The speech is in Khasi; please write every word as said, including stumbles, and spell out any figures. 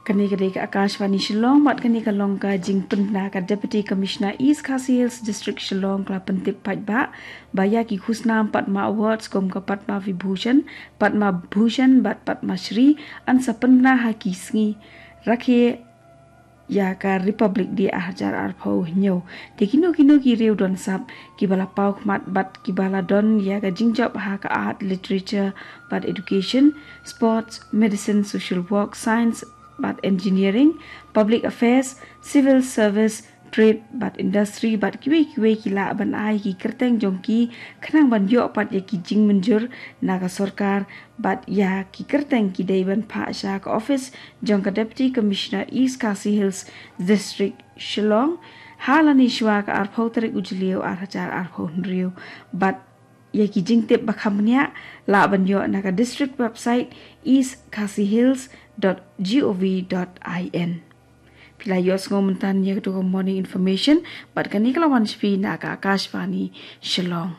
Kane ka dei ka Akashvani Shillong, bad kane ka long ka jingpynbna ka Deputy Commissioner East Khasi Hills District Shillong, ka la pyntip paidbah ba ïa ki khusnam Padma Awards kum ka Padma Vibhushan, Padma Bhushan bad Padma Shri yn sa pynbna ha ki sngi rakhe ïa ka Republic Day ar hajar arphew hynñiew. Te kino kino ki riew don sap kiba la paw khmat bad kiba la don ïa ka jingjop ha ka art, literature bad education, sports, medicine, social work, science bad engineering, public affairs, civil service, trade bad industry bad kiwei kiwei ki lah ban ai ki kyrteng jong ki khnang ban ïoh pat ïa ki jingmynjur na ka sorkar, bad ïa ki kyrteng ki dei ban phah sha ka office jong ka Deputy Commissioner East Khasi Hills District Shillong ha lane shwa ka arphew tarik u Jylliew ar hajar arphew hynriew. Bad ïa ki jingtip ba kham bniah lah ban ïoh na ka district website east khasi hills dot gov dot in. Phi la ïohsngew mynta ïa ka tu ka morning information, bad kane ka la wan sha phi na ka Akashvani Shillong.